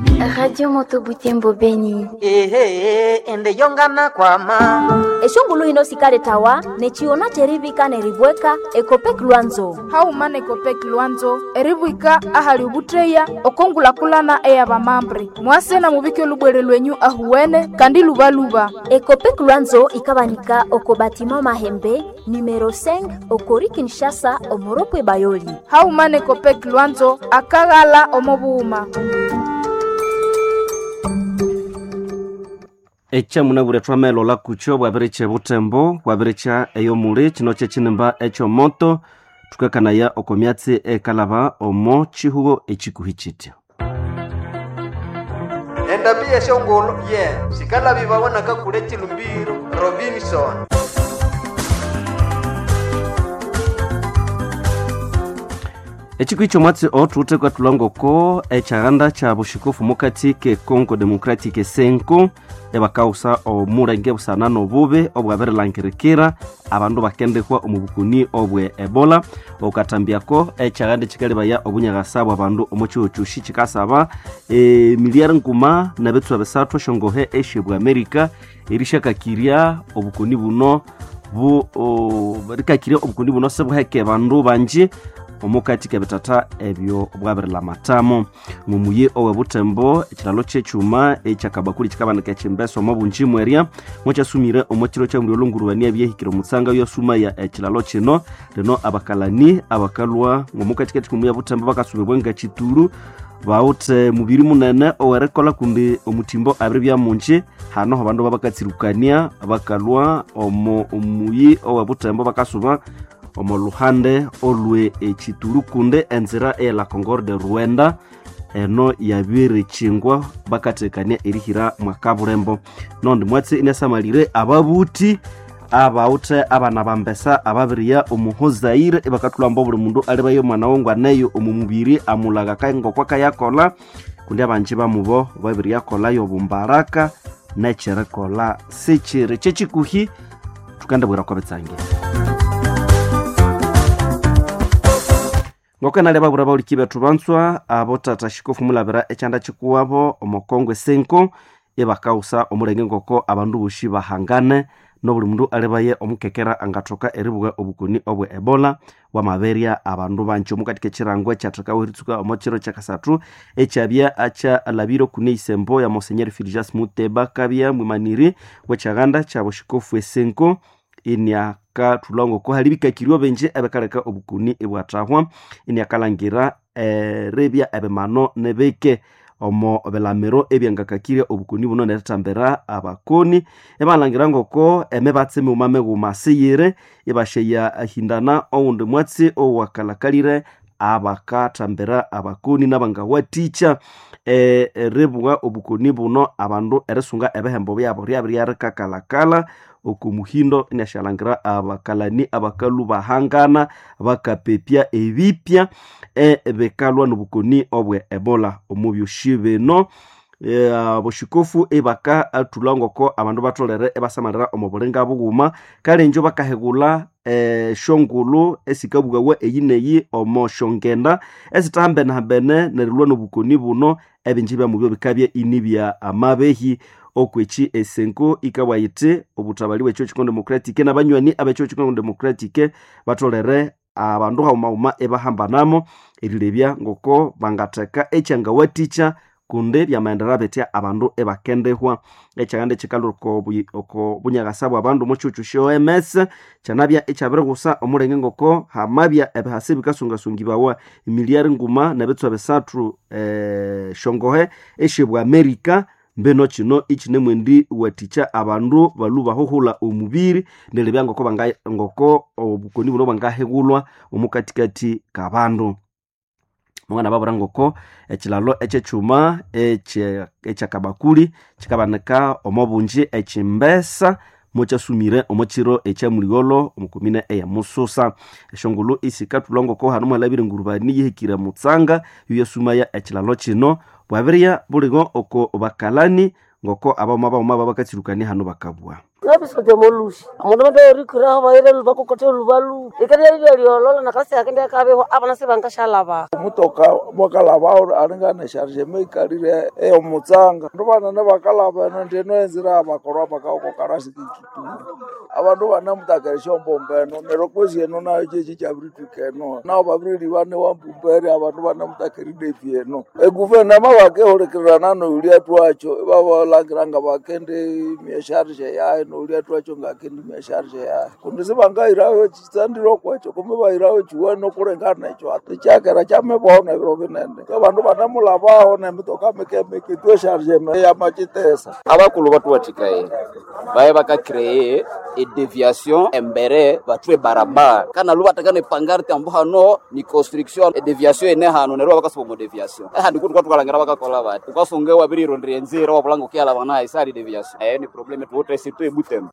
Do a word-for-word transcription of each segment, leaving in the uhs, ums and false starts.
Radio Moto Butembo Beni. Ehe, ende yongana kwama Eshongulu hino sikaletawa nechiona cherivika neribweka Ekopek Lwanzo. Hauma na Ekopek Lwanzo eribwika ahali ubutreya okongulakulana eyabamambre mwase na mubike olubwere lwenyu ahuwene kandi lubaluba. Ekopek Lwanzo ikabanika oko batima Mahembe numero cinq okori Kinshasa omoropwe Bayoli. Hauma na Ekopek Lwanzo akaghala omo bughuma. Ekyamunabwire thwamelolha kukyo bwabirikya ebuthembo bwabirikya eyomuli kino kyekinimba ekyomoto thukakanaya oko myatsi ekalaba omo kihugho ekikuhi kitya. Endambi yeshongolo ye sikalabibawa nakakule chilumbiro Robinson. Ekikuhi kyomwatsi othuwithe kwatulha ekyaghanda kya bushikofu mukati ke Congo Democratic Senko ebakaghusa omulenge busana n'obubi obwabirilangirikira abandu bakendikwa omu bukoni obwe Ebola okatambyako ekyaghanda ekikalebaya obunyaghasa bwa bandu omu kihugho kyosi kikasaba emiliyari nguma nebitswa bisathu esyongohe esyebwa America erishakakirya obukoni buno bu o, rikakirya obukoni buno sibuheke bandu banji omukati kebitata ebyo bwabirilamatamo mumuyi owe Butembo ekilalo kyekyuma ekyakabakuli kikabanika ekyimbeso omo bunji mwerya mwakyasumire omo kiro kya mulyo olongurubania byehikire omutsanga yasumaya ekilalo kino lino abakalani abakalwa ng'omukati kekikumu ya Butembo bakasubibwa nga kitulu bawuthe mubiri munene owerikolha kundi omutimbo abiri bya munji hano abandu babakatsirukania bakalwa omo omuyi owe Butembo bakasuba omo luhande olwe ekitulu kundi enzira eyela Concorde Rwanda eno yabirikyingwa bakatekania erihira mwakabulembo nondi mwatsi inasamalire ababuti abawuthe abana bambesa ababiriya omuhozaire ibakathulhamba obuli mundu alibayo omwana wongwaneyo omu mubiri amulhaga ngokwa kayakolha kundi abanji bamubo babiriyakolhayo obumbaraka nekyerikolha sikyiri kyekikuhi thukandibwira kwabitsange ngokanalya babura bauliki bethu banzwa abo tata shikofu mulabira ekyanda kikuwabo omukongo esenko ibakaghusa omulenge ngoko abandu bosi bahangane nobuli mundu alibaye omukekera angathoka eribuga obukoni obwe Ebola bwamaberya abandu banji omukati kekirango ekyathekawo eritsuka omo kiro kyakasathu ekyabya akyalabire okune isembo ya Monsenyeri Fulgence Muteba kabya mwimaniri wekyaghanda kyabushikofu esenko iniakathulha ngoko hali bikakirwe bingi ebikaleka obukoni ibwathahwa iniakalhangira eribya ebimano nibike omo bilamiro ebyangakakirya obukoni buno nerithambira abakoni ibalhangira ngoko emibatsi mighuma mighuma siyiri ibasheya ahindana owundi mwatsi owakalakalire abakathambira abakoni nabangawathikya eribugha obukoni buno abandu erisunga ebihembo byabo ryabiryarikakalakala oko muhindo inashalhangira abakalani abakalhu bahangana bakapepya ebipya ebikalwa nobukoni obwe Ebola omu byosi bino aboshikofu ibakathulha ngoko abandu batholere ibasamalira omu bulinga bughuma kale injo bakahigulha esyongulhu esikabugawa eyi neyi omo syongenda esithahambenehambene nerilwa nobukoni buno ebingi byamubyo bikabya inibya amabehi okweki esenko ikabwa yithi obuthabali bwekyo Congo Democratic nabanywani abekyo Congo Democratic batholere abandu haghuma ibahambanamo erilebya ngoko bangatheka ekyangawathikya kundi byamaghendera bitya abandu ibakendihwa ekyaghanda ekikalhwa oko bunyaghasa bwa bandu omo kyihugho sya O M S kyanabya ikyabirighusa omulenge ngoko hamabya ebihasa ebikasungasungibawa emiliyari nguma nebitswa bisathu esyongohe esyebwa America mbino kino ikinemwendi wathikya abandu balhu bahuhulha omubiri neribya ngoko banga ngoko obukoni buno bwangahighulhwa omukatikati kabandu mwana babura ngoko ekilalo ekyekyuma ekyakabakuli kikabanika omo bunji ekimbesa mokyasumire omo kiro ekyamuligholo omukomine eya Mususa esyongulhu isikathulha ngoko hanu mwalabire engurubani yihikire mutsanga yuyasumaya ekilalo kino bwabirya buligho oko bakalani ngoko abawoma bawoma babakatsirukania hanu bakabwa. Nabisoja molushi. Omundu mbe rikuraho bayire lubakokote lubalu. Ikerya lyololo nakasi akende akabeho abana sibangashalaba. Omutoka mwakalaba aringana sharje meikalire eyo mutsanga. Ndu banene bakalaba eno ndi eno enzira abakorwa bakaokokarasi kikitundu. Abandu banamutakere mbombe eno neryo kwezi eno nayo kyekyi kyabirithwika eno. Nabo babiririba niwambumbere abandu banamutakere defi eno. Eguvernema bakehulikirana noyulya twakyo ibabalangira nga bakende myesharje yayo noyulya twakyo ngakende myesharje yayo. Kundi sibangahirayo ekitsandiro kwekyo kumbe bahirayo kiwene okulengana ekyo ati kyakera kyamibwaho nebiro binene. Abandu banemulabaho nemitoka mikemike itwe esharje yamakitesa. Abakulhu batuwathikaye baye bakacreye edeviation embere bathwe barabara kana lubathekana epangarte ambu hano ni construction edeviation ene hano neryo bakasuba omu deviation ehandi kuti kwathukalangira bakakola bati ukasunga wabirirondera enzira wabulanga ukiyalaba nayo isali deviation eyo ni problem tuwuthe situ ebutembo.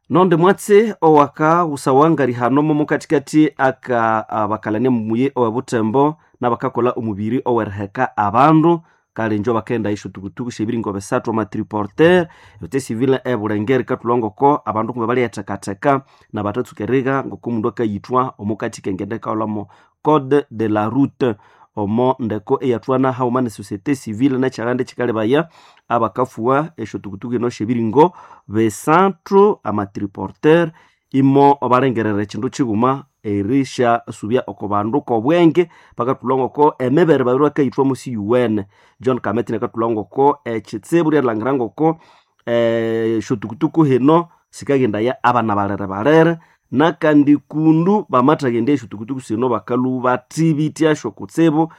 Nonde mwatsi owaka usawangari hano momo katikati aka abakalania mumuye owe butembo n'abakakola omubiri oweriheka abandu kale njo bakenda isho tukutuku shebiringo besatu amatriporter yote civile ebulengeri katulongoko abandu kumbe baliyethekatheka nabatatsuka ngoko omundu akayithwa omukati kengende kaolamo code de la route omo ndeko eyathwana hauma ne société civile nekyaganda ekikalebaya abakafuwa esyo tukutuku eno syebiringo besathu amatriporter imo balengerera ekindu kighuma erisya oko bandu kobwenge bakathulha emibere babiri bakayithwa musi yuwene John Kameti nakathulha ngoko ekitsibu ryalangira ngoko esyotukutuku hino sikaghendaya abana balere balere nakandi kundu bamathaghenda esyotukutuku sino bakalhubathibithyasyo kutsibu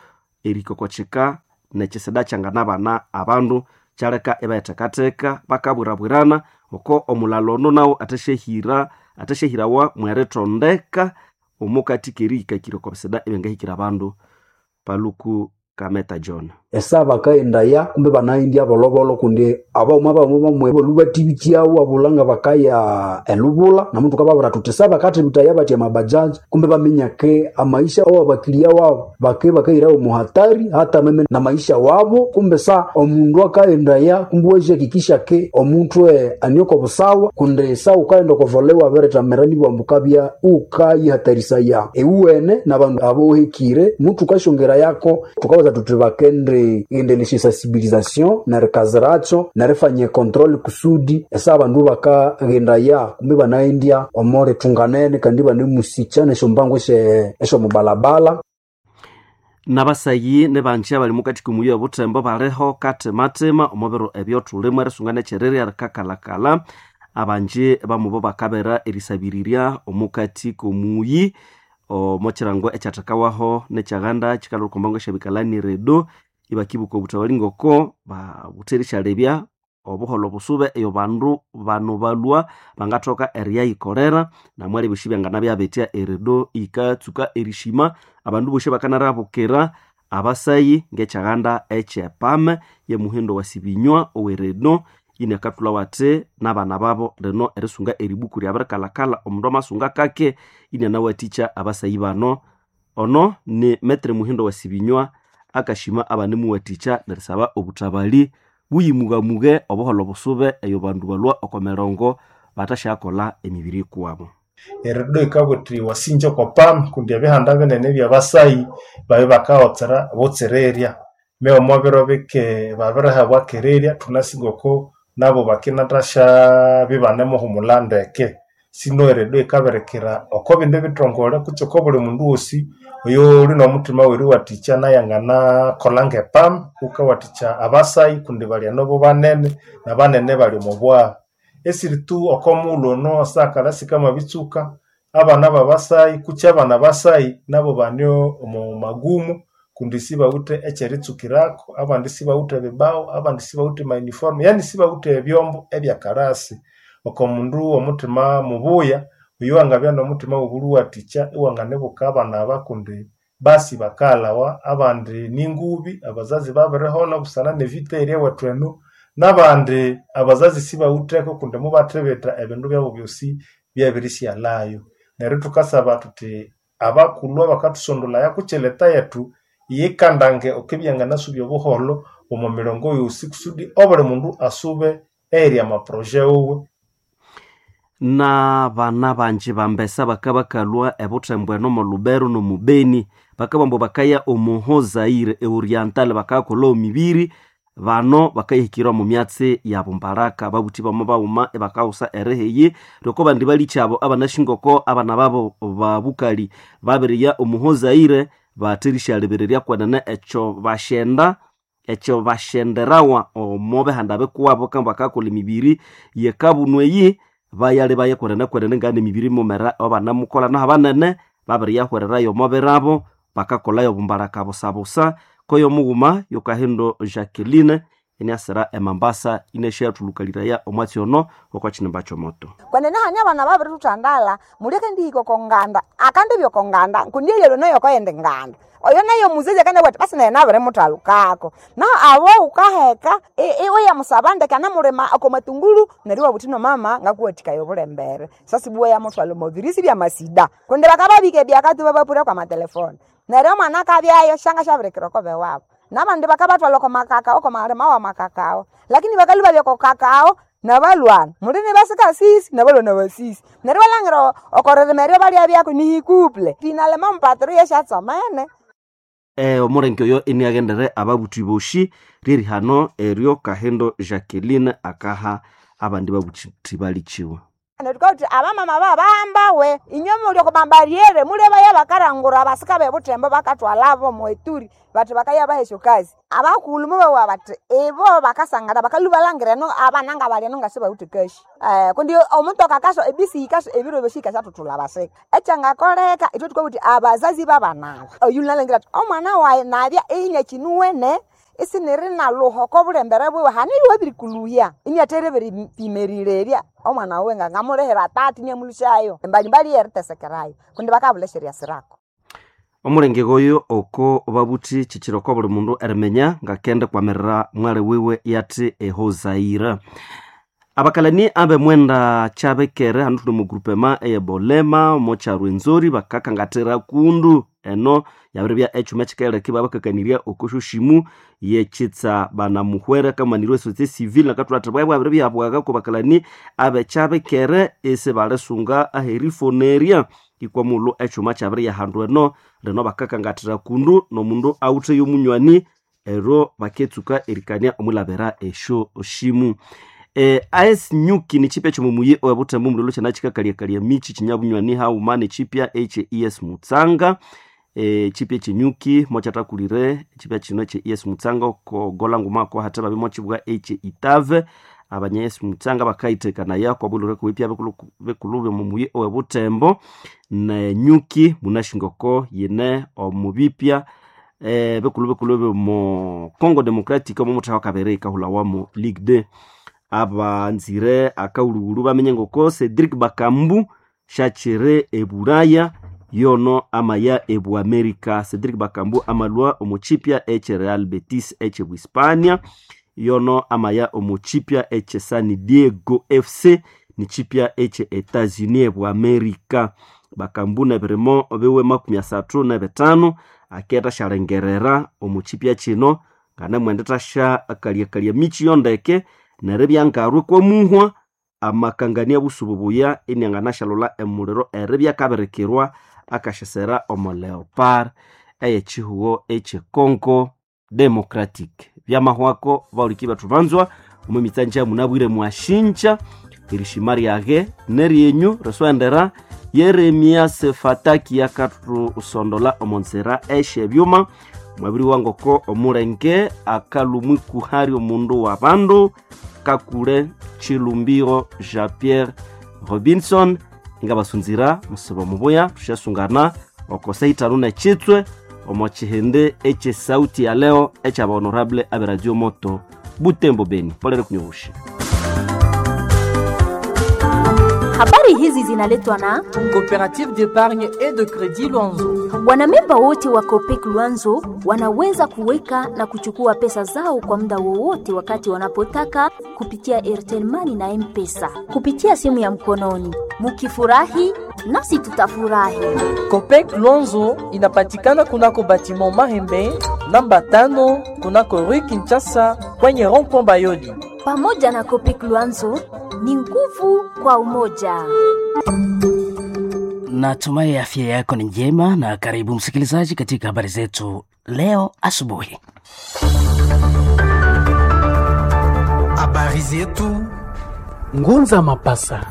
erikokokyika nekisida kyanganabana abandu kyaleka ibayathekatheka bakabwirabwirana oko omulalo ono nawu athasyahira athasyahirawa mwerithondeka omukati kerihikakira oko bisida ebyangahikira abandu. Paluku Kameta John. Esa bakaendaya kumbe banaindya bolobolo kundi abauma bauma bamwe bolubatibityawo abulanga bakaya elubula namuntu kababura tuti sa bakathibitaya batya mabajaji kumbe bamenyake amaisha awo abakilia wabo bake bakairawo muhatari hata meme na maisha wabo kumbe sa omundu akaendaya kumbe wejihakikisha ke omuntu e anioko busawa kundi sa ukaenda okovolewa abirithamirani bwambukabya ukayihatarisaya ewuwene nabandu abohekire mutu ukashongera yako tukabaza tuti bakende endelesha sensibilisation nerikaziracho nerifanya control kusudi esa abandu bakaghendaya kumbe banaendya omore tunganene kandi banemusikya nesyombango esyomubalabala. Nabasayi nebanje abali mukati kumuyi obutembo baliho katematema omubiro ebyothulimo erisunga nekyererya rikakalakala abanje bamubo bakabera erisabirirya omukati komuyi omo kirango ekyathekawaho nekyaghanda kikalwa okwambango esyabikalani redo ibakibuka obuthawali ngoko babutheri syalebya obuholho busube eyo bandu bano balwa bangathoka eriyayikolera namwali ebyosi byanganabya eredo yikatsuka erishima abandu bosi bakanarabukira abasayi ngekyaghanda ekyepame yemuhindo wasibinywa oweredo inakathulha wathi nabana babo lino erisunga eribuku ryabirikalhakalha omundu amasunga kake inanawathikya abasayi bano. Ono ni metre muhindo wasibinywa akashima abanemuwathikya nerisaba obuthabali buyimugamuge obuholho busube eyo bandu balwa oko mirongo bathasyakolha emibiri ikuwabo. Eredo yikabwira wasinja okwa pam kundi ebihanda binene ebyabasayi babya bakawotsera butsirerya mewe omo biro bike babirihabwa kererya thunasi ngoko nabo bakinathasyabya ibanemuhumulha ndeke. Sino eredo yikabirikira oko bindi bithongole kutse oko buli mundu wosi oyuli nomuthima weriwathikya nayo anganakolha ngepam wukawathikya abasayi kundi bali enobo banene nabanene bali omo bwagha. Esiritu oko mughulhu ono esakalha sikamabitsuka abana babasayi kutse abana basayi nabo bane omo magumu kundi sibawithe ekyeritsukirako abandi sibawithe ebibaho abandi sibawithe ama uniform yani sibawithe ebyombo ebyakalasi. Oko mundu omuthima mubuya oyo wangabya nomuthima wobulhuwathikya iwanganibuka abana aba kundi basi bakalhawa abandi ningubi abazazi babirihona busana nevita eri ewethu enu nabandi abazazi sibawitheko kundi mubathibitha ebindu byabo byosi byabirisyalhayo. Neryo thukasaba thuthi abakulhu abakathusondolaya kutse leta yethu yikandange okubyanganasubya obuholho omo mirongo yosi kusudi obuli mundu asube eyiri amaproje wuwe. Na bana banji bambesa bakabakalwa ebuthembo eno omo Lubero nomu Beni, bakabugha ambu bakaya omo Zaire e Oriental bakayakolha omibiri. Bano bakayihikira omu myatsi ya bumbaraka. Babuthi bamo baghuma ibakaghusa erihiyi lyoko bandi balikyabo abanashingoko abana babo babukali babiriya omu Zaire batherishyalhebererya kwenene ekyo basyenda ekyo basyenderawa omo bihanda bikuwabo kandi bakayakolha emibiri yekabunu eyi bayalhebaye kwenene kwenene ngane emibiri mumera abanamukolha naho abanene babiriyahwererayo omo birabo bakakolhayo obumbaraka busabusa. Koyo mughuma yokahindo Jacqueline iniasira emambasa inasyathulukaliraya omwatsi ono okwa kinimba kyomoto. Kwenene hanya abana babirithuthandala muleke ndihika oko nganda akandibya oko nganda kundi eyalwe nayo okoyindi nganda oyo nayo omuzazi akanabugha athi basi naye nabirimuthalukako. Naho abo wukaheka iwayamusaba ndeke anamulima oko matungulu neryo iwabugha wuthi no mama ngakuwathikaya obulembere sasibuwa yamuthwalha omo birisi byamasida kundi bakababika ebyakati ibabapura kwa matelefoni neryo omwana akabyayo syangasyabirikira oko bewabo. Nabandi bakabathwalha oko makakao oko malima wa makakao lakini bakalhwa babya oko kakao nabalwana muli nibasika sisi nabalwana basisi neryo iwalhangira okoririma eryo balyabyako nihikuple finalema omupatiro yesyatsomene. E, omulenge oyo iniaghendere ababuthi boshi lyerihano eryo Kahindo Jacqueline akaha abandi babuthi balikiwe. Neryo thukabuthi abamama babahambawe inywe muli oko mabariere mulebaya bakarangura abasika bebuthembo bakathwalabo omweturi bathi bakayabaha esyokazi. Abakulhu mubabugha bathi ibo bakasangana bakalhwa ibalhangira eno abana ngabali eno ngasibawithe kashi. Kundi omutoka akaswa ebisi yikaswa ebiro byosi yikasathuthulha abasika. Ekyangakoleka ithwe thukabuthi abazazi babana aba oyu nalhangira athi omwana wayi nabya inyakinuwene isiniri nalhuha oko bulembere bwiwe hane iwabirikulhuya iniathere beripimerirerya omwana wiwe ngangamulihira tati iniamulhusyayo embalimbali yeritesekerayo kundi bakabulha esyeryasirako. Omulenge oyo oko babuthi kyikyiri oko buli mundu eriminya ngakende kwamirira mwali wiwe yathi ehozaira. Abakalani abemwenda kyabekere hanu thuli omu groupema eyebolema omo kyarwenzori bakakangathira kundu eno yabiribya ekyuma ekyikaghileka ibabakakanirya oko syosyimu yekyitsa banamuhwera kamanirwe société civile nakathulha athi bwabya bwabiribyahabwaga ko bakalani abekyabekere isibalisunga aherifonerya ikwa mulhu ekyuma kyabiriyahandu eno lino bakakangathira kundu nomundu awuthe yomunywani ero baketsuka erikania omwilabira esyo syimu. E, A S Nyuki ni chipya kyomumuyi owebuthembo omulilo kyanakikakalyakalya michi kinyabunywani haghuma nekyipya ekye E S Mutsanga. E, chipya ekyenyuki mokyathakulire chipya kino ekye E S Mutsanga oko gola nguma ko hathe babya mokyibugha ekye Itave. Abanya E S Mutsanga bakayithekanayo kwabulire kuwipya bekulhu byomumuyi owebuthembo nenyuki munashingoko yine omubipya e, bekulhu bekulhu byomo Congo Democratic omo muthawa kabiri ikahulhawamu Ligue deux. Abanzire akaghulhughulhu bamenye ngoko Cedric Bakambu syakyiri ebulaya yono amaya ebu America. Cedric Bakambu amalhwa omu kyipya ekye Real Betis ekye Buhispania yono amaya omu kyipya ekye San Diego F C ni kyipya ekye Etats-Unis ebu America. Bakambu nebirimo biwe makumi asathu nebithanu aketha syalengerera omu kyipya kino nganemwenda thasya akalyakalya michi yondeke neribya ngarwe kwamuhwa amakangania busubu buya inianganasyalholha emuliro eribya akabirikirwa akasyasera omo Leopard eyekyihugho ekye Congo Democratic. Byamahwako bawuliki bethu banzwa omo mitsanja munabwire mwashinja erishima ryage neryenyu riswendera Yeremia Sefataki yakathusondola omo nzira esyebyuma mwabiri wangoko omulenge akalumwi kuhari omundu wa bandu Kakule Chilumbiro Jean Pierre Robinson ingabasunzira musibo mubuya tusyasungana okosa itanu nekyitswe omo kihindi ekye sauti ya leo ekyaba honorable abe Radio Moto Butembo Beni. Polere kunyobushi. Habari hizi zinaletwa na Coopérative d'épargne et de crédit Luanzo. Wanamemba wote wa Copec Luanzo wanaweza kuweka na kuchukua pesa zao kwa muda wowote wakati wanapotaka kupitia Airtel Money na M-Pesa kupitia simu ya mkononi. Mukifurahi nasi tutafurahi. Copec Luanzo inapatikana kunako batiment Mahembe namba tano kunako Rue Kinshasa kwenye rond-point Bayodi. Pamoja na Copec Luanzo Ni nguvu kwa umoja. Natumai afya yako ni njema na karibu msikilizaji katika habari zetu leo asubuhi. Habari zetu Ngunza Mapasa.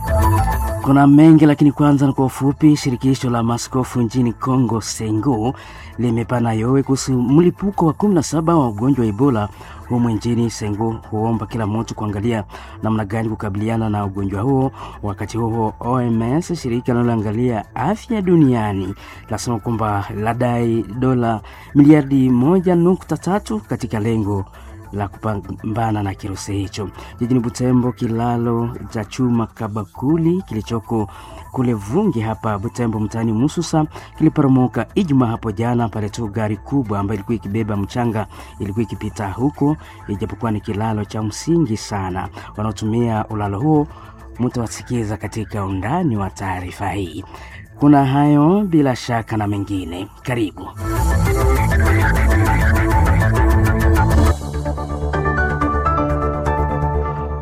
Kuna mengi lakini kwanza ni kwa ufupi. Shirikisho la maskofu nchini Congo Sengo limepana yowe kuhusu mlipuko wa kumi na saba wa ugonjwa wa Ebola humu nchini. Sengo huomba kila mtu kuangalia namna gani kukabiliana na ugonjwa huo. Wakati huo O M S, shirika linaloangalia afya duniani, lasema kwamba ladai dola miliardi moja nukta tatu katika lengo la kupambana na kirusi hicho. Jijini Butembo, kilalo cha chuma Kabakuli kilichoko kule Vungi hapa Butembo mtaani Mususa kiliporomoka Ijumaa hapo jana pale tu gari kubwa ambayo ilikuwa ikibeba mchanga ilikuwa ikipita huko, ijapokuwa ni kilalo cha msingi sana. Wanaotumia ulalo huo mtawasikiza katika undani wa taarifa hii. Kuna hayo bila shaka na mengine, karibu.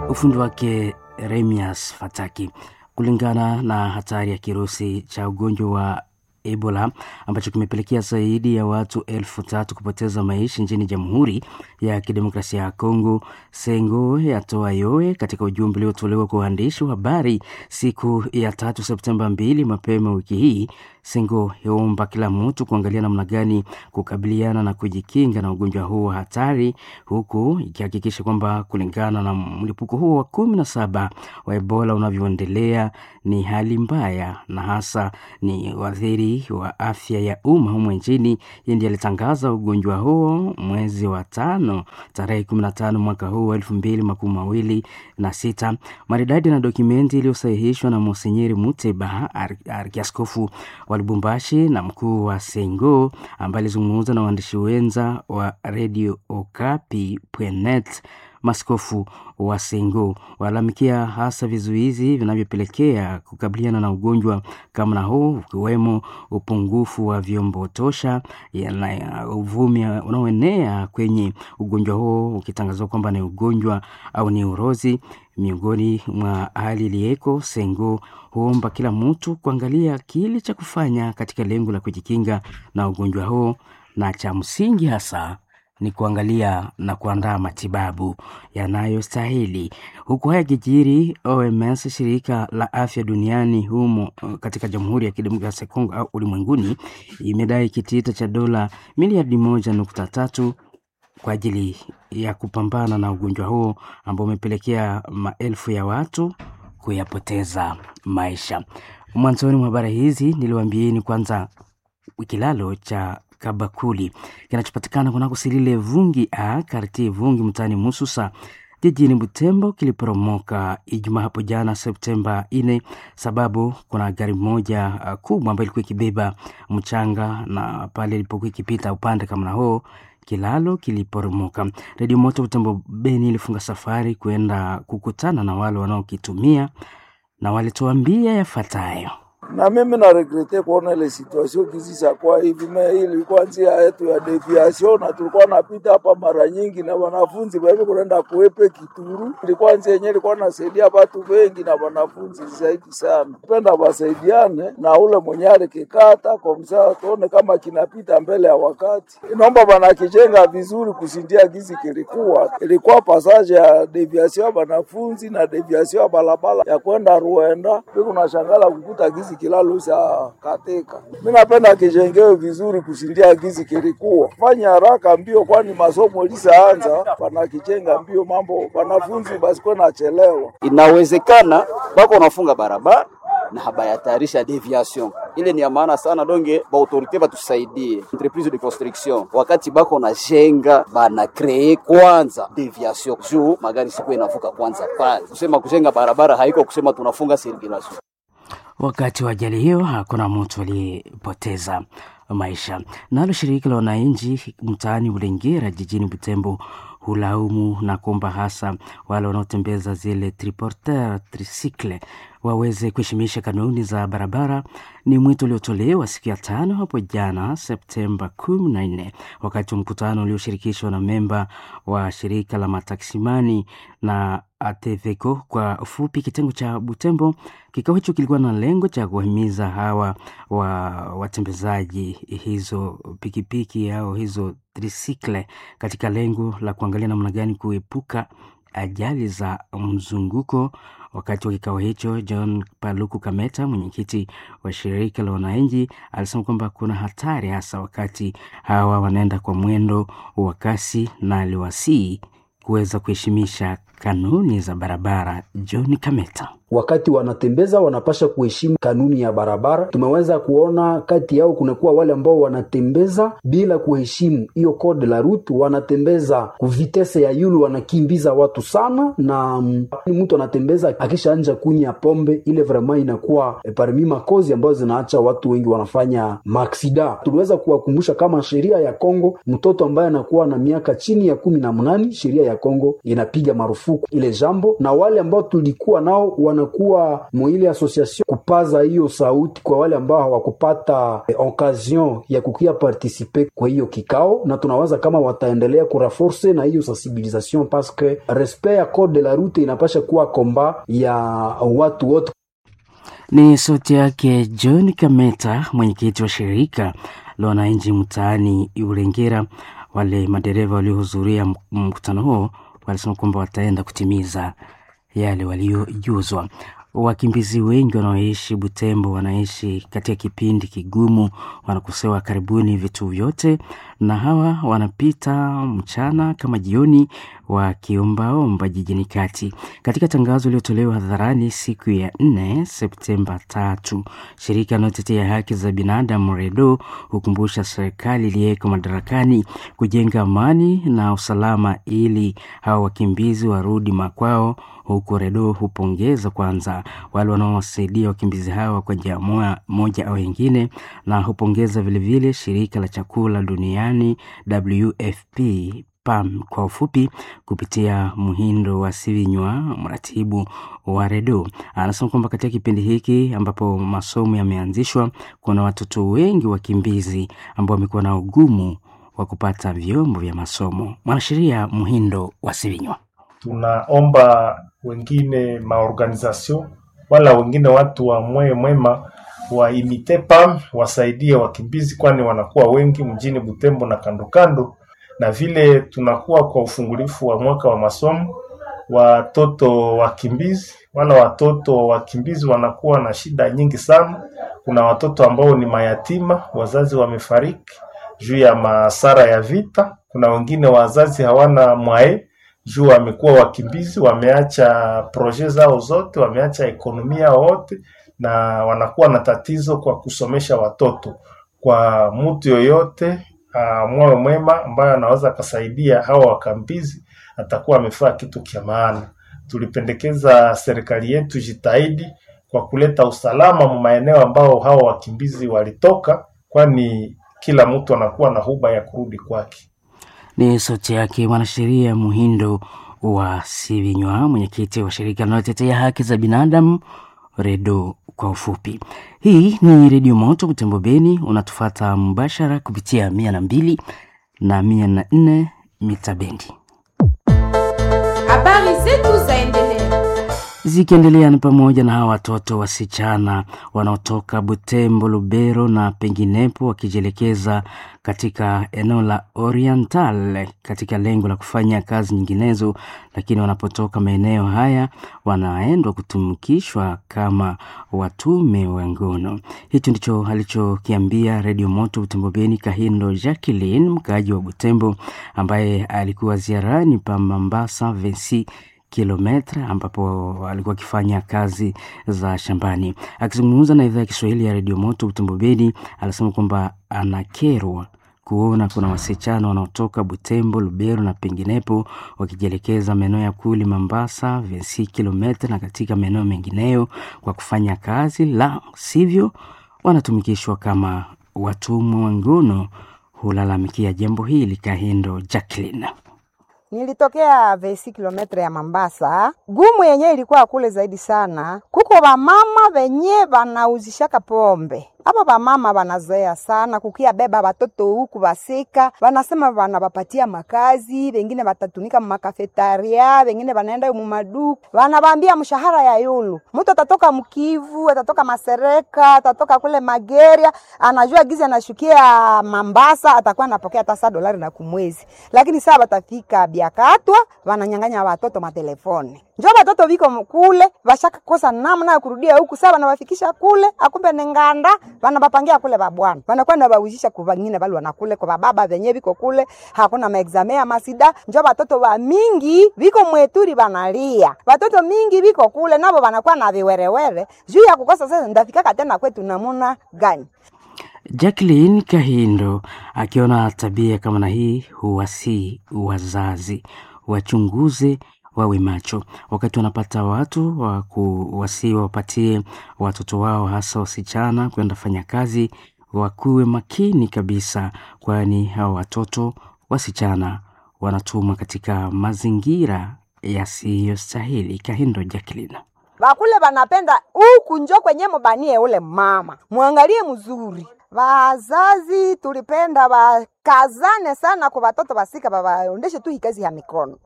Ufundi wake Remias Fataki. Kulingana na hatari ya kirusi cha ugonjwa wa Ebola ambacho kimepelekea zaidi ya watu elfu tatu kupoteza maisha nchini Jamhuri ya Kidemokrasia ya Kongo, Sengo yatoa yowe katika ujumbe uliotolewa kwa waandishi wa habari siku ya tatu Septemba mbili mapema wiki hii. Sengo yaomba kila mtu kuangalia namna gani kukabiliana na kujikinga na ugonjwa huo wa hatari, huku ikihakikisha kwamba kulingana na mlipuko huo wa kumi na saba wa Ebola unavyoendelea ni hali mbaya na hasa ni waziri wa afya ya umma humo nchini. Yeye ndiye alitangaza ugonjwa huo mwezi wa tano tarehe kumi na tano mwaka huu wa elfu mbili makumi mawili na sita. Maridadi na dokumenti iliyosahihishwa na Monsenyeri Muteba, arkiaskofu wa Lubumbashi na mkuu wa Sengo, ambaye alizungumza na waandishi wenza wa Radio Okapi net. Maskofu wa Sengo walalamikia hasa vizuizi vinavyopelekea kukabiliana na ugonjwa kama na huu, ukiwemo upungufu wa vyombo tosha na uvumi unaoenea kwenye ugonjwa huo ukitangazwa kwamba ni ugonjwa au ni urozi. Miongoni mwa hali iliyeko, Sengo huomba kila mtu kuangalia kile cha kufanya katika lengo la kujikinga na ugonjwa huo, na cha msingi hasa ni kuangalia na kuandaa matibabu yanayostahili. Huku haya kijiri, O M S, shirika la afya duniani humo katika Jamhuri ya Kidemokrasia ya Kongo au ulimwenguni, imedai kitita cha dola miliardi moja nukta tatu kwa ajili ya kupambana na ugonjwa huo ambao umepelekea maelfu ya watu kuyapoteza maisha. Mwanzoni mwa habari hizi niliwaambieni kwanza kilalo cha Kabakuli kinachopatikana kunako Silile Vungi a kartie Vungi mtaani Mususa jijini Butembo kiliporomoka Ijumaa hapo jana Septemba nne, sababu kuna gari moja kubwa ambayo ilikuwa ikibeba mchanga na pale ilipokuwa ikipita upande kama na huo kilalo kiliporomoka. Redio Moto Butembo Beni ilifunga safari kwenda kukutana na wale wanaokitumia na walituambia yafuatayo. Na mimi na regrete kuona ile situation kizisa kwa hivi me ilikuwa njia yetu ya deviation, na tulikuwa napita hapa mara nyingi na wanafunzi wewe kuenda kuepe Kituru. Ilikuwa njia yenyewe ilikuwa nasaidia watu wengi na wanafunzi zaidi sana. Penda wasaidiane na ule mwenye alikikata kwa msaa, tuone kama kinapita mbele ya wakati. Inaomba bana kijenga vizuri kusindia gizi kilikuwa ilikuwa passage ya deviation ya wanafunzi na deviation ya barabara ya kwenda Ruenda. Piko na shangala kukuta gizi kilalo sa katika. Mimi napenda kijengewe vizuri kusindia gizi kilikuwa. Fanya haraka mbio, kwani masomo lisaanza, panakijenga mbio mambo wanafunzi basi kwa nachelewa. Inawezekana bako nafunga barabara na habayatayarisha deviation ile ni ya maana sana, donge ba autorite batusaidie entreprise de construction, wakati bako na jenga bana kree kwanza deviation juu magari siku inavuka kwanza pale. Kusema kujenga barabara haiko kusema tunafunga circulation. Wakati wa ajali hiyo hakuna mtu aliyepoteza maisha. Nalo shirika la wananchi mtaani Bulengera jijini Butembo hulaumu na kuomba hasa wale wanaotembeza zile triporteur tricycle waweze kuheshimisha kanuni za barabara. Ni mwito uliotolewa siku ya tano hapo jana Septemba kumi na nne wakati wa mkutano ulioshirikishwa na memba wa shirika la mataksimani na ATVECO kwa ufupi, kitengo cha Butembo. Kikao hicho kilikuwa na lengo cha kuwahimiza hawa wa watembezaji hizo pikipiki au hizo trisikle katika lengo la kuangalia namna gani kuepuka ajali za mzunguko. Wakati wa kikao hicho, John Paluku Kameta, mwenyekiti wa shirika la wananchi, alisema kwamba kuna hatari hasa wakati hawa wanaenda kwa mwendo wa kasi, na aliwasihi kuweza kuheshimisha kanuni za barabara. John Kameta. Wakati wanatembeza wanapasha kuheshimu kanuni ya barabara. Tumeweza kuona kati yao kunakuwa wale ambao wanatembeza bila kuheshimu hiyo code la route, wanatembeza kuvitese ya yulu, wanakimbiza watu sana, na mtu anatembeza akishaanja kunya pombe ile, vraiment inakuwa eh, parmi makozi ambayo zinaacha watu wengi wanafanya maksida. Tuliweza kuwakumbusha kama sheria ya Kongo, mtoto ambaye anakuwa na miaka chini ya kumi na mnane, sheria ya Kongo inapiga marufuku ile jambo, na wale ambao tulikuwa nao wana kuwa mwile association kupaza hiyo sauti kwa wale ambao hawakupata eh, occasion ya kukia participer kwa hiyo kikao, na tunawaza kama wataendelea kuraforce na hiyo sensibilisation parce que respect ya code de la route inapasha kuwa komba ya watu wote. Ni sauti yake John Kameta, mwenyekiti wa shirika la wananchi mtaani Urengera. Wale madereva waliohudhuria mkutano huo walisema kwamba wataenda kutimiza yale waliojuzwa. Wakimbizi wengi wanaoishi Butembo wanaishi katika kipindi kigumu, wanakosewa karibuni vitu vyote, na hawa wanapita mchana kama jioni wakiombaomba jijini kati. Katika tangazo iliyotolewa hadharani siku ya nne Septemba tatu, shirika linalotetea haki za binadamu REDO hukumbusha serikali iliyeko madarakani kujenga amani na usalama ili hawa wakimbizi warudi makwao, huku REDO hupongeza kwanza wale wanaowasaidia wakimbizi hawa kwa njia moja au nyingine, na hupongeza vilevile shirika la chakula duniani W F P PAM kwa ufupi, kupitia Muhindo wa Sivinywa, mratibu wa REDO, anasema kwamba katika kipindi hiki ambapo masomo yameanzishwa, kuna watoto wengi wakimbizi ambao wamekuwa na ugumu wa kupata vyombo vya masomo. Mwanasheria Muhindo wa Sivinywa: tunaomba wengine maorganization wala wengine watu wa moyo mwema waimite PAM wasaidie wakimbizi, kwani wanakuwa wengi mjini Butembo na kando kando, na vile tunakuwa kwa ufungulifu wa mwaka wa masomo, watoto wakimbizi wala watoto wa wakimbizi wanakuwa na shida nyingi sana. Kuna watoto ambao ni mayatima, wazazi wamefariki juu ya masara ya vita. Kuna wengine wazazi hawana mwae juu wamekuwa wakimbizi, wameacha proje zao zote, wameacha ekonomia wote, na wanakuwa na tatizo kwa kusomesha watoto. Kwa mtu yoyote moyo mwema ambayo anaweza akasaidia hawa wakimbizi, atakuwa amefaa kitu kia maana. Tulipendekeza serikali yetu jitahidi kwa kuleta usalama mu maeneo ambao hawa wakimbizi walitoka, kwani kila mtu anakuwa na huba ya kurudi kwake. Ni sauti yake mwanasheria Muhindo wa Sivinywa, mwenyekiti wa shirika linalotetea haki za binadamu REDO kwa ufupi. Hii ni Redio Moto Butembo Beni, unatufata mbashara kupitia mia na mbili na mia na nne mita bendi. Habari zetu zaendelea zikiendelea ni pamoja na hawa watoto wasichana wanaotoka Butembo, Lubero na penginepo wakijielekeza katika eneo la Oriental katika lengo la kufanya kazi nyinginezo, lakini wanapotoka maeneo haya wanaendwa kutumikishwa kama watume wa ngono. Hicho ndicho alichokiambia Redio Moto Butembo Beni Kahindo Jacqueline, mkaaji wa Butembo ambaye alikuwa ziarani pa Mambasa Vensi kilometra ambapo alikuwa akifanya kazi za shambani. Akizungumza na idhaa ya Kiswahili ya Redio Moto Butembo Beni, alisema kwamba anakerwa kuona kuna wasichana wanaotoka Butembo, Lubero na penginepo wakijielekeza maeneo ya Kuli, Mambasa, Vensi kilometra na katika maeneo mengineyo kwa kufanya kazi, la sivyo wanatumikishwa kama watumwa wa ngono. Hulalamikia jambo hili Kahindo Jacqueline. Nilitokea vesi kilometre ya Mambasa. Gumu yenye ilikuwa kule zaidi sana, kuko vamama venye vanauzishaka pombe. Aba vamama vanazoea sana kukia beba watoto huku vasika, vanasema vanawapatia makazi, vengine watatumika mumakafetaria, vengine vanaenda mumaduka, vanavambia mshahara ya yulu. Mtu atatoka Mkivu, atatoka Masereka, atatoka kule Mageria, anajua gizi anashukia Mambasa, atakuwa anapokea hata saa dolari na kumwezi, lakini saa batafika Biakatwa wananyang'anya watoto matelefoni, njo watoto viko kule vashakakosa namna ya kurudia huku. Saa wanawafikisha kule, akumbe ni nganda wanabapangia kule babwana, wanakuwa nabauzisha kwa vangine bali wanakule kwa bababa venye viko kule, hakuna maexame ya masida. Njo watoto wa mingi viko mweturi banalia, watoto mingi viko kule nabo wanakuwa na viwerewere juu ya kukosa. Sasa ndafikaka tena kwetu namuna gani? Jacqueline Kahindo akiona tabia kama na hii huwasii wazazi wachunguze, wawe macho wakati wanapata watu wa kuwasii wapatie watoto wao hasa wasichana kwenda fanya kazi, wakuwe makini kabisa, kwani hawa watoto wasichana wanatumwa katika mazingira yasiyostahili. Kahindo Jacqueline. Bakule banapenda huku njo kwenye mubanie ule mama, mwangalie mzuri. Wazazi tulipenda wakazane sana kwa watoto basika, babaondeshe tu hii kazi ya mikono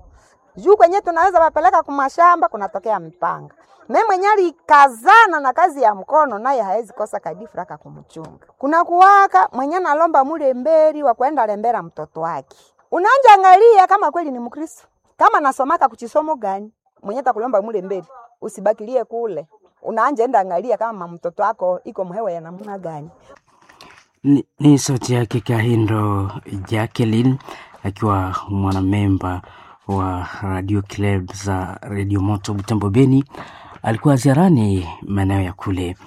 juu kwenye tunaweza wapeleka kumashamba kunatokea mpanga. Me mwenye alikazana na kazi ya mkono naye haezi kosa kadifuraka kumchunga. Kuna kuwaka mwenye nalomba mule mberi wa kwenda lembera mtoto wake. Unaanja angalia kama kweli ni Mkristo, kama nasomaka kuchisomo gani, mwenye takulomba mule mberi usibakilie kule. Unaanja enda angalia kama mtoto wako iko mhewa ya namna gani. Ni, ni sauti yake Kahindo Jacqueline akiwa mwanamemba wa Radio Club za Radio Moto Butembo Beni. Alikuwa ziarani maeneo ya kule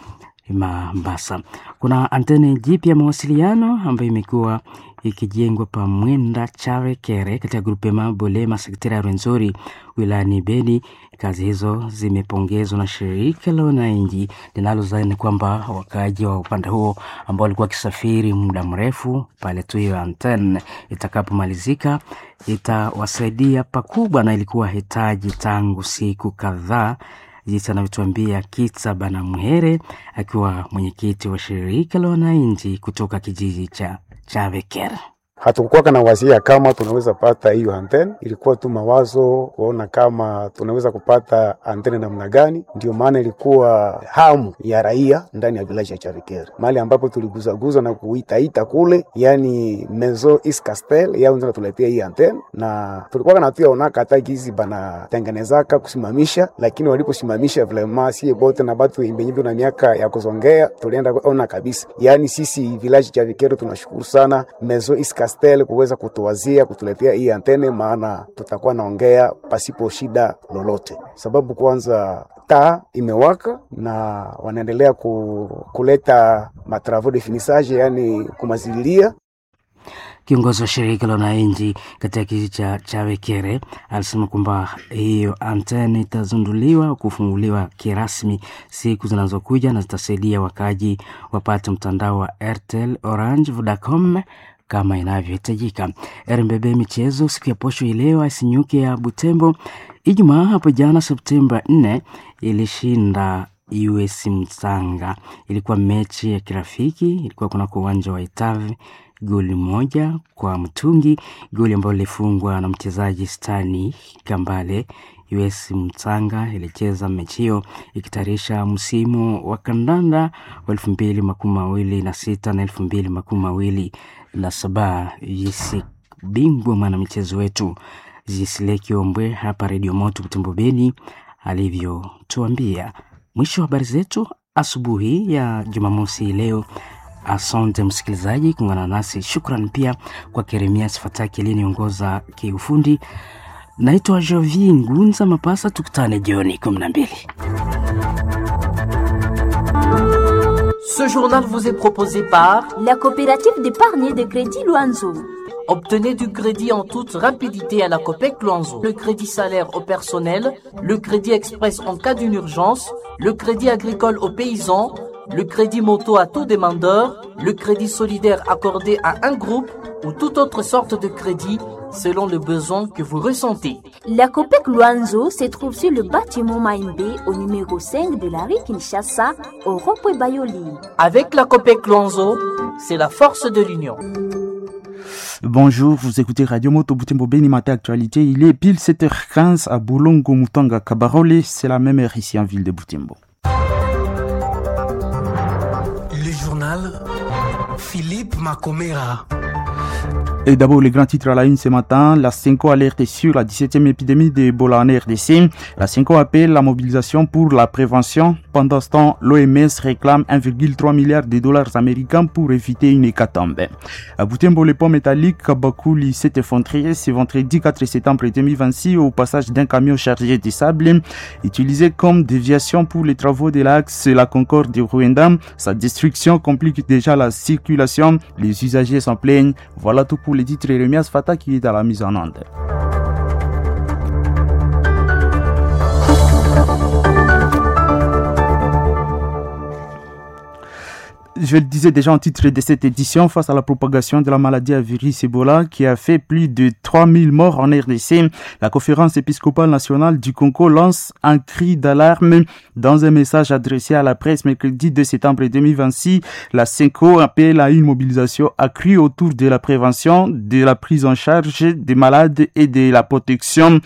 Mombasa. Kuna antene jipya ya mawasiliano ambayo imekuwa ikijengwa pa Mwenda Charekere katika grupema Bolema sektera ya Rwenzori wilayani Beni. Kazi hizo zimepongezwa na shirika la wananchi linalozani kwamba wakaaji wa upande huo ambao walikuwa wakisafiri muda mrefu pale tu hiyo antene itakapomalizika itawasaidia pakubwa, na ilikuwa hitaji tangu siku kadhaa jinsi anavyotuambia Kitsa Banamuhere akiwa mwenyekiti wa shirika la wananchi kutoka kijiji cha Chaveker. Hatukukuwa na wazia kama tunaweza pata hiyo antene, ilikuwa tu mawazo kuona kama tunaweza kupata antene namna gani. Ndio maana ilikuwa hamu ya raia ndani ya village ya Chavikere, mahali ambapo tuliguzaguza na kuitaita kule, yani Maison Is Castel yao ndio natuletea hii antene, na tulikuwa na tuya onaka hata gizi banatengenezaka kusimamisha, lakini waliposimamisha vraiment sie bote na batu benye na miaka ya kuzongea tulienda ona kabisa, yani sisi village Chavikere tunashukuru sana Maison Is Castel kuweza kutuwazia kutuletea hii antene, maana tutakuwa naongea pasipo shida lolote, sababu kwanza taa imewaka na wanaendelea ku, kuleta matravaux de finissage, yani kumazililia. Kiongozi wa shirika la wananchi katika kijiji cha Chawekere alisema kwamba hiyo anteni itazinduliwa kufunguliwa kirasmi siku zinazokuja na zitasaidia wakaaji wapate mtandao wa Airtel, Orange, Vodacom kama inavyohitajika. R M B B michezo siku ya posho ileo Asinyuke ya Butembo Ijumaa hapo jana Septemba nne ilishinda U S Mtsanga. Ilikuwa mechi ya kirafiki, ilikuwa kunako uwanja wa Itave, goli moja kwa mtungi, goli ambalo lilifungwa na mchezaji Stani Kambale. U S Mtsanga ilicheza mechi hiyo ikitayarisha msimu wa kandanda wa elfu mbili makumi mawili na sita na elfu mbili makumi mawili na saba. Jisi bingwa mwanamichezo wetu Jisile Kiombwe hapa Radio Moto Butembo Beni alivyotuambia. Mwisho wa habari zetu asubuhi ya Jumamosi leo. Asante msikilizaji kuungana nasi. Shukran pia kwa Keremias Fataki aliyeniongoza kiufundi. Naitwa Jovi Ngunza Mapasa, tukutane jioni kumi na mbili. Ce journal vous est proposé par la coopérative d'épargne et de crédit Luanzo. Obtenez du crédit en toute rapidité à la Copec Luanzo. Le crédit salaire au personnel, le crédit express en cas d'une urgence, le crédit agricole aux paysans, le crédit moto à tout demandeur, le crédit solidaire accordé à un groupe ou toute autre sorte de crédit selon le besoin que vous ressentez. La Copec Luanzo se trouve sur le bâtiment Maïmbé au numéro cinq de la rue Kinshasa au rond-point Bayoli. Avec la Copec Luanzo, c'est la force de l'union. Bonjour, vous écoutez Radio Moto Butembo Beni Matin Actualité. Il est pile sept heures quinze à Boulongo Mutanga Kabarole. C'est la même heure ici en ville de Butembo. Le journal Philippe Macomera. Et d'abord, les grands titres à la une ce matin. La CENCO alerte sur la dix-septième épidémie d'Ebola en R D C. La CENCO appelle la mobilisation pour la prévention. Pendant ce temps, l'O M S réclame un virgule trois milliard de dollars américains pour éviter une hécatombe. À Butembo, le pont métallique Kabakuli s'est effondré ce vendredi quatre septembre deux mille vingt-six au passage d'un camion chargé de sable utilisé comme déviation pour les travaux de l'axe La Concorde de Rwanda. Sa destruction complique déjà la circulation. Les usagers s'en plaignent. Voilà tout pour les titres. Remias Fata qui est à la mise en onde. Je le disais déjà en titre de cette édition, face à la propagation de la maladie à virus Ebola qui a fait plus de trois mille morts en R D C, la conférence épiscopale nationale du Congo lance un cri d'alarme dans un message adressé à la presse mercredi deux septembre deux mille vingt-six. La CENCO appelle à une mobilisation accrue autour de la prévention, de la prise en charge des malades et de la protection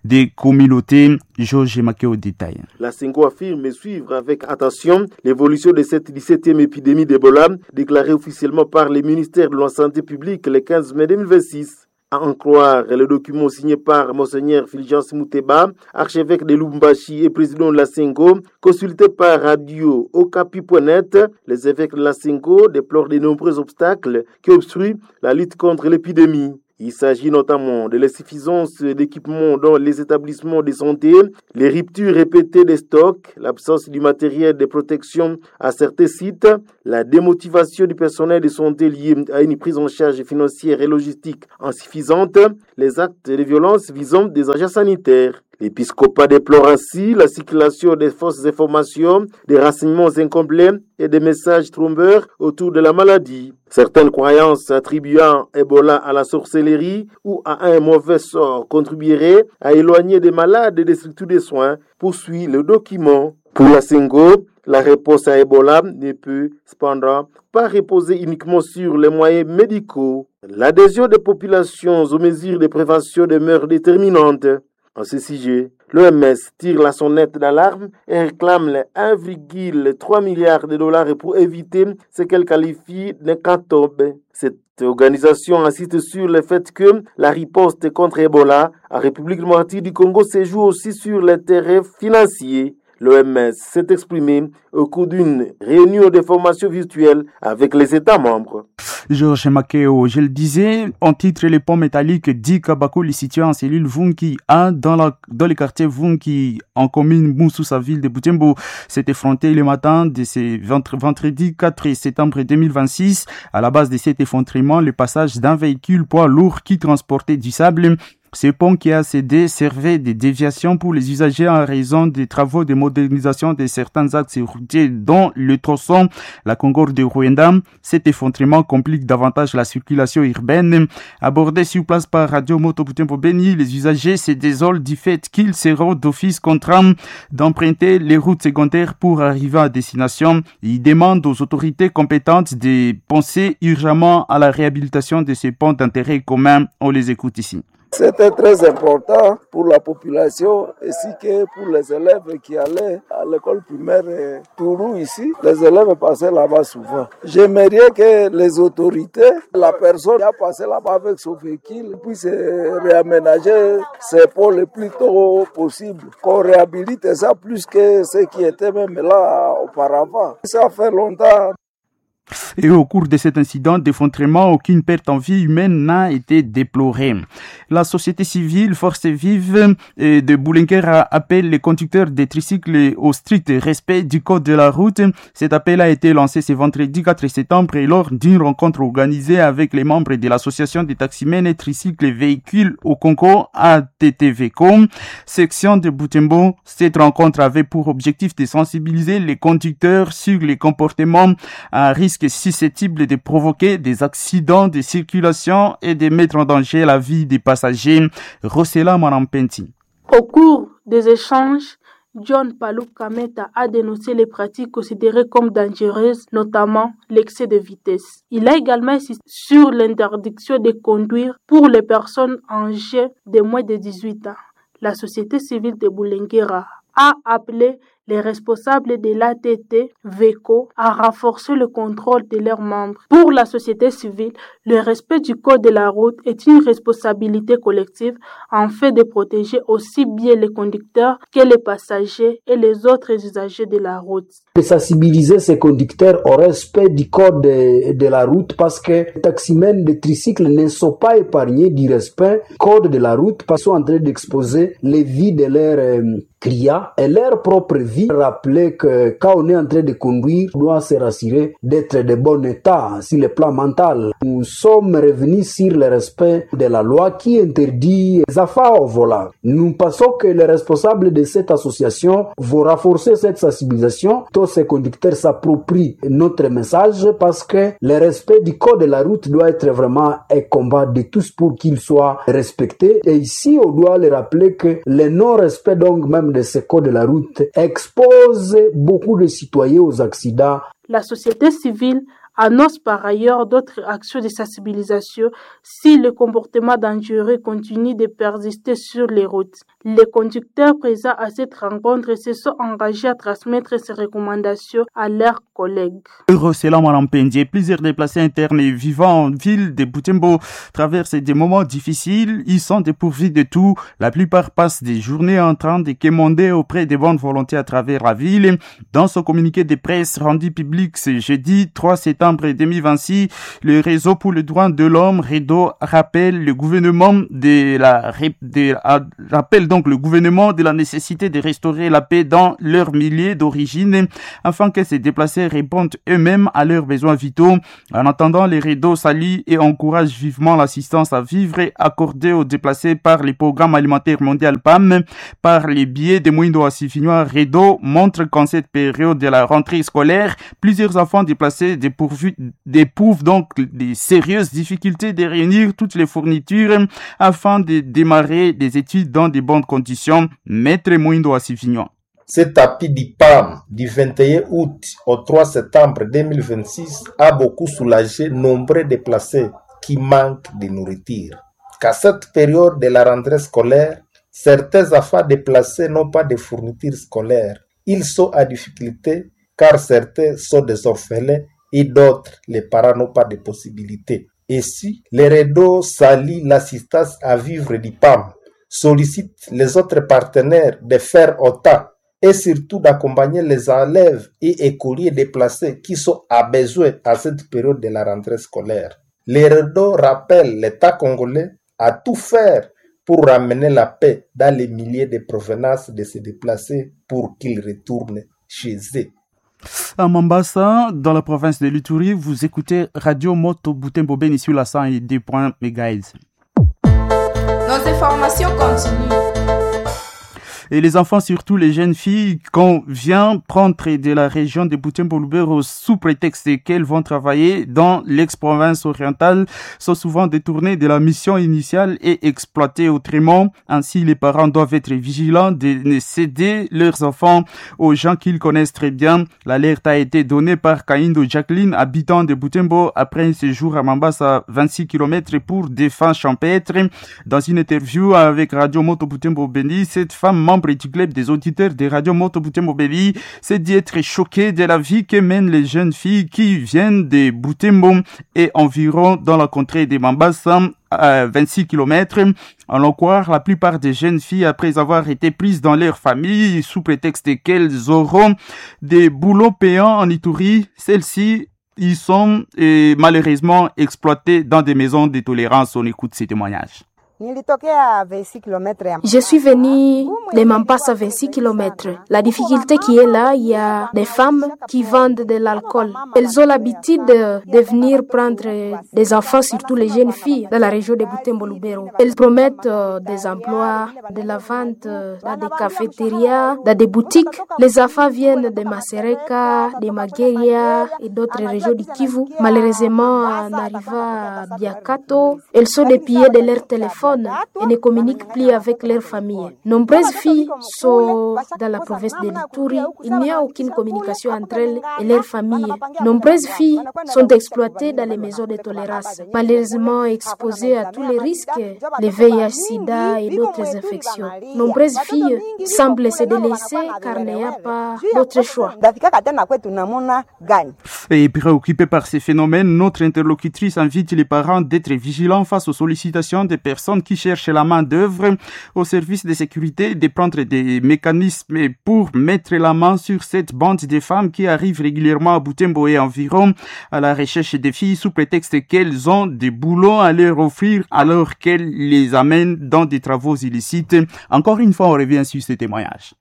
des communautés. Georges Maquet au détail. La CENCO affirme suivre avec attention l'évolution de cette dix-septième épidémie d'Ebola, déclarée officiellement par le ministère de la Santé publique le quinze mai deux mille vingt-six. À en croire le document signé par Monseigneur Fulgence Muteba, archevêque de Lubumbashi et président de la CENCO, consulté par Radio Okapi point net, les évêques de la CENCO déplorent de nombreux obstacles qui obstruent la lutte contre l'épidémie. Il s'agit notamment de l'insuffisance d'équipements dans les établissements de santé, les ruptures répétées des stocks, l'absence du matériel de protection à certains sites, la démotivation du personnel de santé liée à une prise en charge financière et logistique insuffisante, les actes de violence visant des agents sanitaires. L'épiscopat déplore ainsi la circulation des fausses informations, des renseignements incomplets et des messages trompeurs autour de la maladie. Certaines croyances attribuant Ebola à la sorcellerie ou à un mauvais sort contribueraient à éloigner des malades des structures de soins, poursuit le document. Pour la CENCO, la réponse à Ebola ne peut cependant pas reposer uniquement sur les moyens médicaux. L'adhésion des populations aux mesures de prévention demeure déterminante. En ce sujet, l'O M S tire la sonnette d'alarme et réclame les un virgule trois milliards de dollars pour éviter ce qu'elle qualifie d'hécatombe. Cette organisation insiste sur le fait que la riposte contre Ebola en République démocratique du Congo se joue aussi sur les terrains financiers. L'O M S s'est exprimée au cours d'une réunion de formation virtuelle avec les États membres. Georges Makeo, je le disais, en titre les ponts métalliques dit Kabakuli situé en cellule Vunki A dans, la, dans le quartier Vunki en commune Moussoussa, ville de Butembo, s'est effronté le matin de ce vendredi quatre septembre deux mille vingt-six. À la base de cet effondrement, le passage d'un véhicule poids lourd qui transportait du sable. Ce pont qui a cédé servait de déviation pour les usagers en raison des travaux de modernisation de certains axes routiers dont le tronçon la Concorde de Rwanda. Cet effondrement complique davantage la circulation urbaine. Abordé sur place par Radio Moto Butembo Beni, les usagers se désolent du fait qu'ils seront d'office contraints d'emprunter les routes secondaires pour arriver à destination. Ils demandent aux autorités compétentes de penser urgemment à la réhabilitation de ces ponts d'intérêt commun. On les écoute ici. C'était très important pour la population ainsi que pour les élèves qui allaient à l'école primaire Tourou ici. Les élèves passaient là-bas souvent. J'aimerais que les autorités, la personne qui a passé là-bas avec son véhicule, puisse réaménager ses ponts le plus tôt possible. Qu'on réhabilite ça plus que ce qui était même là auparavant. Ça fait longtemps. Et au cours de cet incident d'effondrement, aucune perte en vie humaine n'a été déplorée. La société civile Force Vive de Boulenker appelle les conducteurs des tricycles au strict respect du code de la route. Cet appel a été lancé ce vendredi quatre septembre et lors d'une rencontre organisée avec les membres de l'association des taximens et tricycles et véhicules au Congo, A T T V C O, section de Butembo. Cette rencontre avait pour objectif de sensibiliser les conducteurs sur les comportements à risque risque susceptible de provoquer des accidents de circulation et de mettre en danger la vie des passagers. Rossella Manampenti. Au cours des échanges, John Palou Kameta a dénoncé les pratiques considérées comme dangereuses, notamment l'excès de vitesse. Il a également insisté sur l'interdiction de conduire pour les personnes âgées de moins de dix-huit ans. La société civile de Bulengera a appelé les responsables de l'A T T VECO à renforcer le contrôle de leurs membres. Pour la société civile, le respect du code de la route est une responsabilité collective en fait de protéger aussi bien les conducteurs que les passagers et les autres usagers de la route. De sensibiliser ces conducteurs au respect du code de, de la route parce que les taximens de tricycles ne sont pas épargnés du respect du code de la route parce qu'ils sont en train d'exposer les vies de leurs euh, clients et leur propre vie. Rappeler que quand on est en train de conduire, on doit se rassurer d'être de bon état sur le plan mental. Nous sommes revenus sur le respect de la loi qui interdit les affaires au volant. Nous pensons que les responsables de cette association vont renforcer cette sensibilisation. Tous ces conducteurs s'approprient notre message parce que le respect du code de la route doit être vraiment un combat de tous pour qu'il soit respecté. Et ici, on doit le rappeler que le non-respect donc même de ce code de la route expose beaucoup de citoyens aux accidents. La société civile annonce par ailleurs d'autres actions de sensibilisation si le comportement dangereux continue de persister sur les routes. Les conducteurs présents à cette rencontre se sont engagés à transmettre ces recommandations à leurs collègues. Rossella Malampendier, plusieurs déplacés internes et vivant en ville de Butembo traversent des moments difficiles. Ils sont dépourvus de tout. La plupart passent des journées en train de quémander auprès des bonnes volontés à travers la ville. Dans son communiqué de presse rendu public ce jeudi trois septembre deux mille vingt-six, le réseau pour le droit de l'homme, REDO, rappelle le gouvernement de la, de, rappelle donc le gouvernement de la nécessité de restaurer la paix dans leur milieu d'origine afin que ces déplacés répondent eux-mêmes à leurs besoins vitaux. En attendant, les REDO salue et encourage vivement l'assistance à vivre accordée aux déplacés par les programmes alimentaires mondial P A M. Par les biais de Mwindo Assifinois, REDO montre qu'en cette période de la rentrée scolaire, plusieurs enfants déplacés dépourvus éprouvent donc des sérieuses difficultés de réunir toutes les fournitures afin de démarrer des études dans de bonnes conditions. Maître Mwindo Assifignon. Cet appui du P A M du vingt et un août au trois septembre deux mille vingt-six a beaucoup soulagé nombreux déplacés qui manquent de nourriture. Qu'à cette période de la rentrée scolaire, certains enfants déplacés n'ont pas de fournitures scolaires. Ils sont à difficulté car certains sont des orphelins et d'autres, les parents n'ont pas de possibilités. Et si les REDO salient l'assistance à vivre du P A M, sollicitent les autres partenaires de faire autant et surtout d'accompagner les élèves et écoliers déplacés qui sont à besoin à cette période de la rentrée scolaire. Les REDO rappellent l'État congolais à tout faire pour ramener la paix dans les milliers de provenances de ces déplacés pour qu'ils retournent chez eux. À Mambasa, dans la province de l'Ituri, vous écoutez Radio Moto Butembo Beni sur la cent deux point mégahertz. Nos informations continuent. Et les enfants, surtout les jeunes filles, qu'on vient prendre de la région de Butembo-Lubero sous prétexte qu'elles vont travailler dans l'ex-province orientale, sont souvent détournées de la mission initiale et exploitées autrement. Ainsi, les parents doivent être vigilants de ne céder leurs enfants aux gens qu'ils connaissent très bien. L'alerte a été donnée par Kaindo Jacqueline, habitant de Butembo, après un séjour à Mambasa, vingt-six kilomètres pour des fins champêtres. Dans une interview avec Radio Moto Butembo Beni, cette femme membre du club des auditeurs des radios Moto Butembo Beni s'est dit être choquée de la vie que mènent les jeunes filles qui viennent de Butembo et environ dans la contrée de Mambasa à vingt-six kilomètres. En l'en croire, la plupart des jeunes filles, après avoir été prises dans leur famille sous prétexte qu'elles auront des boulots payants en Ituri, celles-ci ils sont et malheureusement exploitées dans des maisons de tolérance. On écoute ces témoignages. Nilitokea vingt-six kilomètres ya Je suis venu de Mampasa vingt-six kilomètres. La difficulté qui est là, il y a des femmes qui vendent de l'alcool. Elles ont l'habitude de venir prendre des enfants, surtout les jeunes filles, dans la région de Butembo-Lubero. Elles promettent des emplois, de la vente dans des cafétérias, dans des boutiques. Les enfants viennent de Masereka, de Mageria et d'autres régions du Kivu. Malheureusement, en arrivant à Biakato, elles sont dépouillées de leur téléphone et ne communiquent plus avec leur famille. Nombreuses filles sont dans la province de l'Ituri. Il n'y a aucune communication entre elles et leur famille. Nombreuses filles sont exploitées dans les maisons de tolérance, malheureusement exposées à tous les risques, les V I H sida et d'autres infections. Nombreuses filles semblent se délaisser car il n'y a pas d'autre choix. Et préoccupée par ces phénomènes, notre interlocutrice invite les parents d'être vigilants face aux sollicitations des personnes qui cherchent la main-d'œuvre au service de sécurité, de prendre des mécanismes pour mettre la main sur cette bande de femmes qui arrivent régulièrement à Butembo et environ à la recherche des filles sous prétexte qu'elles ont des boulots à leur offrir alors qu'elles les amènent dans des travaux illicites. Encore une fois, on revient sur ces témoignages.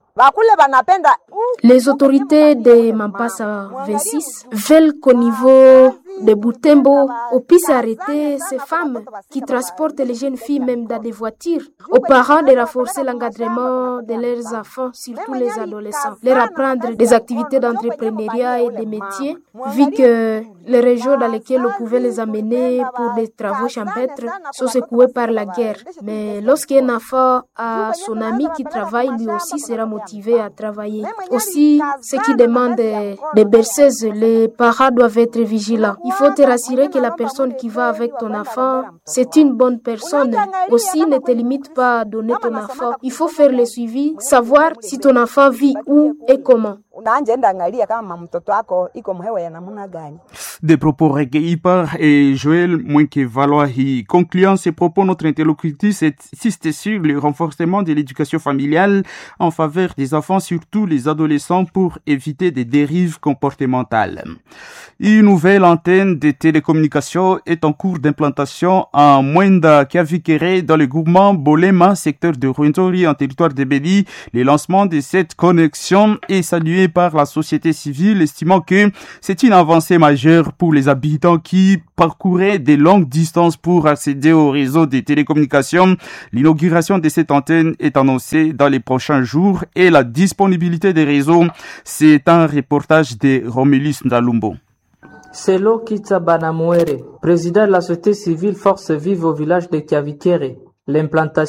Les autorités de Mampasa vingt-six veulent qu'au niveau de Butembo, on puisse arrêter ces femmes qui transportent les jeunes filles même dans des voitures. Aux parents de renforcer l'encadrement de leurs enfants, surtout les adolescents, leur apprendre des activités d'entrepreneuriat et des métiers, vu que les régions dans lesquelles on pouvait les amener pour des travaux champêtres sont secouées par la guerre. Mais lorsqu'un enfant a son ami qui travaille, lui aussi sera motivé à travailler. Aussi, ceux qui demandent des berceuses, les parents doivent être vigilants. Il faut te rassurer que la personne qui va avec ton enfant, c'est une bonne personne. Aussi, ne te limite pas à donner ton enfant. Il faut faire le suivi, savoir si ton enfant vit où et comment. Des propos recueillis par et Joël Mwenke-Valoahi. Concluant ses propos, notre interlocutrice insiste sur le renforcement de l'éducation familiale en faveur des enfants, surtout les adolescents, pour éviter des dérives comportementales. Une nouvelle antenne de télécommunications est en cours d'implantation à Mwenda Kiavikere dans le groupement Bolema, secteur de Rwenzori en territoire de Beni. Le lancement de cette connexion est salué par la société civile, estimant que c'est une avancée majeure pour les habitants qui parcouraient des longues distances pour accéder au réseau des télécommunications. L'inauguration de cette antenne est annoncée dans les prochains jours et la disponibilité des réseaux, c'est un reportage de Romulus Ndalumbo. Selo Kitsa Banamwere, président de la société civile Force Vive au village de Kiavikere, l'implantation